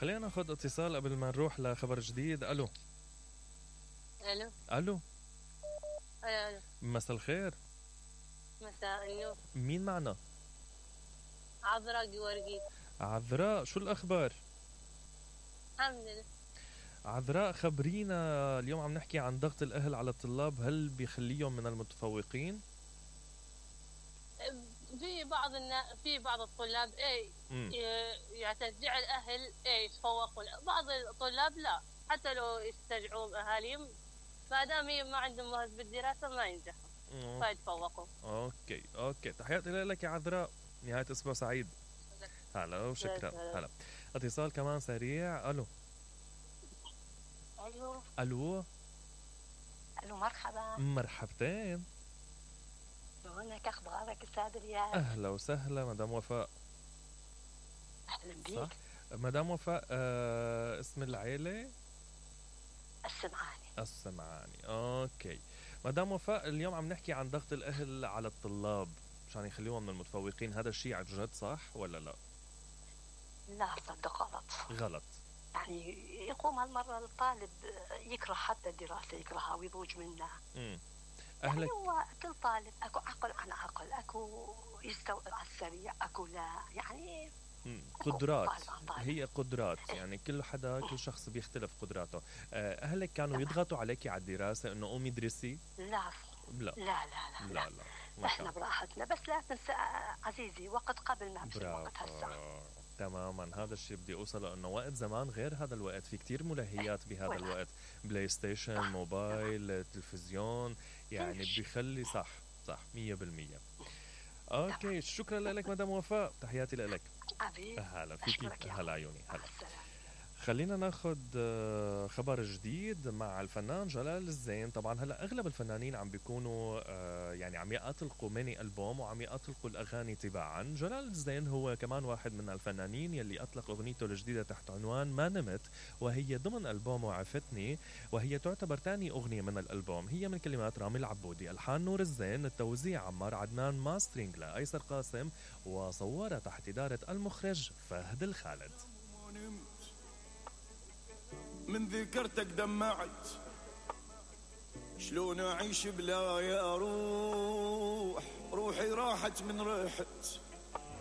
خلينا ناخذ اتصال قبل ما نروح لخبر جديد. الو الو الو الو مساء الخير. مساء النور. مين معنا؟ عذراء جوارجيت. عذراء، شو الاخبار؟ الحمد لله. عذراء خبرينا، اليوم عم نحكي عن ضغط الاهل على الطلاب، هل بيخليهم من المتفوقين؟ في بعض الطلاب يعني تشجيع الاهل يتفوقون، بعض الطلاب لا، حتى لو يسترجعوا اهاليهم ما دام ما عندهم مهارة بالدراسه ما ينجحوا فيتفوقوا. اوكي تحياتي لك يا عذراء، نهايه اسبوع سعيد. هلا وشكرا. هلا اتصال كمان سريع. الو الو مرحبا. مرحبتين. شلونك، اخبارك استاذ رياض؟ اهلا وسهلا مدام وفاء. اهلا بيك. مدام وفاء، اسم العيله؟ السمعاني. اوكي مدام وفاء، اليوم عم نحكي عن ضغط الاهل على الطلاب مشان يخليهم من المتفوقين، هذا الشيء عن جد صح ولا لا؟ لا صدق غلط. يعني يقوم هالمرة الطالب يكره حتى الدراسة، يكرهها ويضوج منها. أهلك يعني هو كل طالب اكو عقل عن عقل، اكو يستوعب على السريع، اكو لا، يعني قدرات. هي قدرات، يعني كل حدا كل شخص بيختلف قدراته. أهلك كانوا يضغطوا عليك على الدراسة إنه قومي ادرسي؟ لا لا لا لا, لا. احنا براحتنا، بس لا تنسى عزيزي وقت قبل ما بصير وقت هسه. تماما، هذا الشيء بدي اوصله، انه وقت زمان غير هذا الوقت، في كتير ملهيات بهذا الوقت، بلاي ستيشن، موبايل، تلفزيون، يعني بيخلي صح 100%. اوكي شكرا لك مدام وفاء، تحياتي لك. هلا فيكي. هلا عيوني. هلا خلينا ناخذ خبر جديد مع الفنان جلال الزين. طبعا هلا اغلب الفنانين عم بيكونوا يعني عم يطلقوا ميني ألبوم وعم يطلقوا الاغاني تباعا. جلال الزين هو كمان واحد من الفنانين يلي اطلق اغنيته الجديده تحت عنوان ما نمت، وهي ضمن ألبوم وعفتني، وهي تعتبر ثاني اغنيه من الألبوم. هي من كلمات رامي العبودي، الحان نور الزين، التوزيع عمار عدنان، ماسترينج لايسر قاسم، وصورها تحت اداره المخرج فهد الخالد. من ذكرتك دمعت، شلون أعيش بلا يا روح، روحي راحت من ريحت